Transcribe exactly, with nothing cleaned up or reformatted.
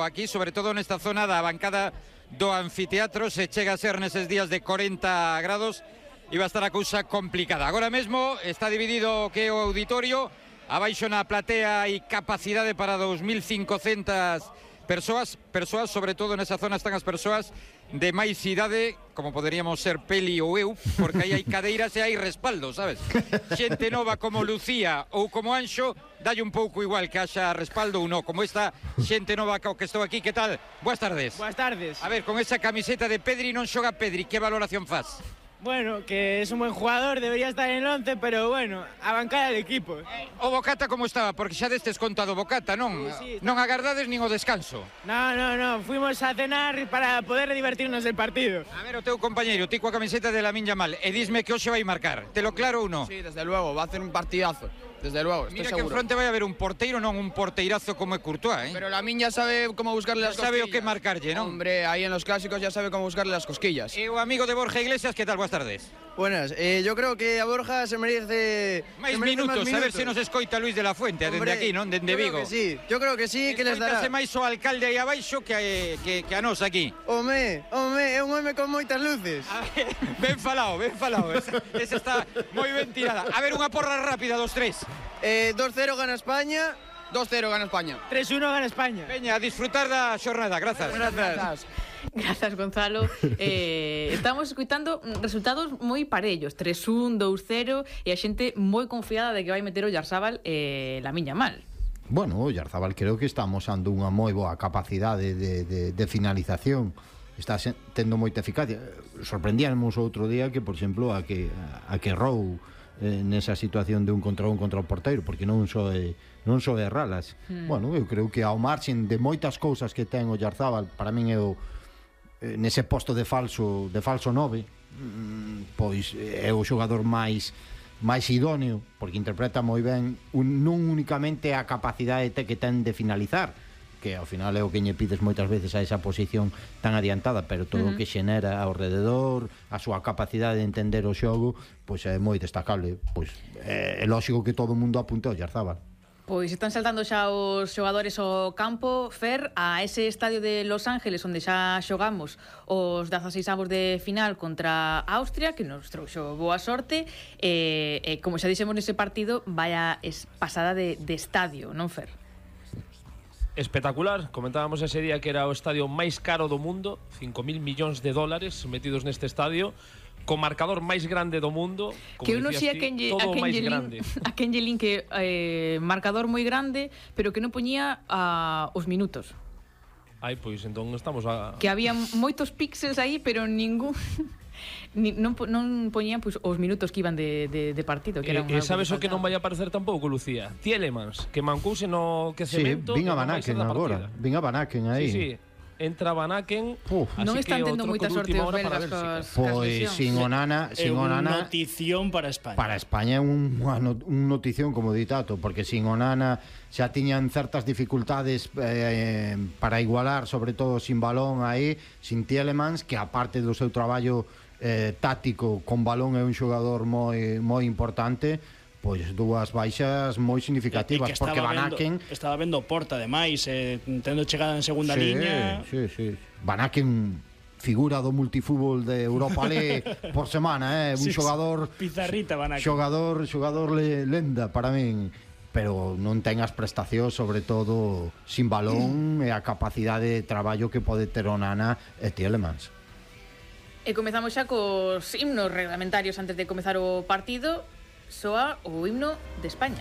aquí, sobre todo nesta zona da bancada do anfiteatro. Se chega a ser neses días de corenta grados e va a estar a cousa complicada. Agora mesmo está dividido que o auditorio, abaixo na platea hai capacidade para dos mil cincocentas persoas, persoas, sobre todo nesa zona están as persoas de máis idade, como poderíamos ser Peli ou eu, porque aí hai cadeiras e hai respaldo, sabes? Xente nova como Lucía ou como Anxo, dalle un pouco igual que haxa respaldo ou non, como esta xente nova que estou aquí. Que tal? Boas tardes. Boas tardes. A ver, con esa camiseta de Pedri non xoga Pedri, que valoración faz? Bueno, que es un buen jugador, debería estar en el once, pero bueno, a bancar al equipo. O Bocata como estaba? Porque xa destes contado Bocata, non? Sí, sí, non agardades nin o descanso. No, no, no, fuimos a cenar para poder divertirnos del partido. A ver, o teu compañeiro, ti coa camiseta de Lamine Yamal, e disme que hoxe vai marcar. Te lo claro ou non? Sí, desde luego, va a hacer un partidazo. Desde luego, estoy Mira seguro. que en fronte vai haber un porteiro, non un porteirazo como é Courtois, ¿eh? Pero Lamine ya sabe cómo buscarle las sabe cosquillas. o que marcarlle, non? Hombre, ahí en los clásicos ya sabe cómo buscarle las cosquillas. E o amigo de Borja Iglesias, que tal? Boas tardes. Buenas, eh, yo creo que a Borja se merece máis se merece minutos, más a ver se nos escoita Luis de la Fuente, dende aquí, non? Dende Vigo. Yo creo que sí, yo creo que sí, que les dará. Escoítase máis o alcalde aí abaixo que, que, que a nos aquí. Home, home, é un home con moitas luces. A ver, ben falado, ben falado. Esa, esa está moi ben tirada. A ver, unha porra rápida dos tres. Eh, dos cero gana España. dos cero gana España. tres uno gana España. Veña, a disfrutar da xornada, grazas. Grazas. Grazas, Gonzalo. Eh, estamos escuitando resultados moi parellos, tres un, dous cero, e a xente moi confiada de que vai meter o Oyarzabal e Lamine Yamal. Bueno, o Oyarzabal creo que está amosando unha moi boa capacidade de, de, de finalización. Está tendo moita eficacia. Sorprendíamos outro día que, por exemplo, a que a que Rou eh, nesa situación de un contra un contra o porteiro, porque non só é, non só é ralas. Hmm. Bueno, eu creo que ao marxen de moitas cousas que ten o Oyarzabal, para min é o eh, nese posto de falso de falso nove, mm, pois é o xogador máis máis idóneo, porque interpreta moi ben un, non únicamente a capacidade que ten de finalizar, que ao final é o que lle pides moitas veces a esa posición tan adiantada, pero todo o uh -huh. que xenera ao rededor, a súa capacidade de entender o xogo, pois é moi destacable. Pois é, é lógico que todo o mundo apunte ao Oyarzabal. Pois están saltando xa os xogadores ao campo, Fer, a ese estadio de Los Ángeles onde xa xogamos os dezaseis avos de final contra Austria, que nos trouxo boa sorte, e, e como xa dixemos nese partido, vaya pasada de, de estadio, non, Fer? Espectacular, comentábamos ese día que era o estadio máis caro do mundo, cinco mil millóns de dólares metidos neste estadio, co marcador máis grande do mundo, como que uno si a quen lle, todo a quen máis lle grande. A quen lle lin que eh, marcador moi grande, pero que non poñía uh, os minutos. Ai, pois entón estamos a... Que había moitos píxeles aí, pero ningún... Ni, non, non poñían pois, os minutos que iban de, de, de partido, que E, eran e sabes o que non vai a aparecer tampouco, Lucía? Tielemans, que mancouse no que cemento. Sí, vin a Banaken agora, vin a Banaken aí. Sí, sí, entra Banaken. Non están tendo moita sorte os belgas cos Pois sin Onana, sin Onana. Notición para España. Para España é un, un notición como ditato, porque sin Onana xa tiñan certas dificultades eh, para igualar, sobre todo sin balón aí, sin Tielemans, que aparte do seu traballo eh, táctico con balón é un xogador moi moi importante, pois dúas baixas moi significativas, porque Banaken vendo, estaba vendo Porta ademais, eh, tendo chegada en segunda sí, liña. Sí, sí. Banaken figura do multifútbol de Europa League por semana, eh, un sí, xogador pizarrita Banaken. Xogador, xogador le, lenda para min, pero non ten as prestacións, sobre todo sin balón, e a capacidade de traballo que pode ter Onana e Tielemans. E comezamos xa cos himnos reglamentarios antes de comezar o partido. Soa o himno de España.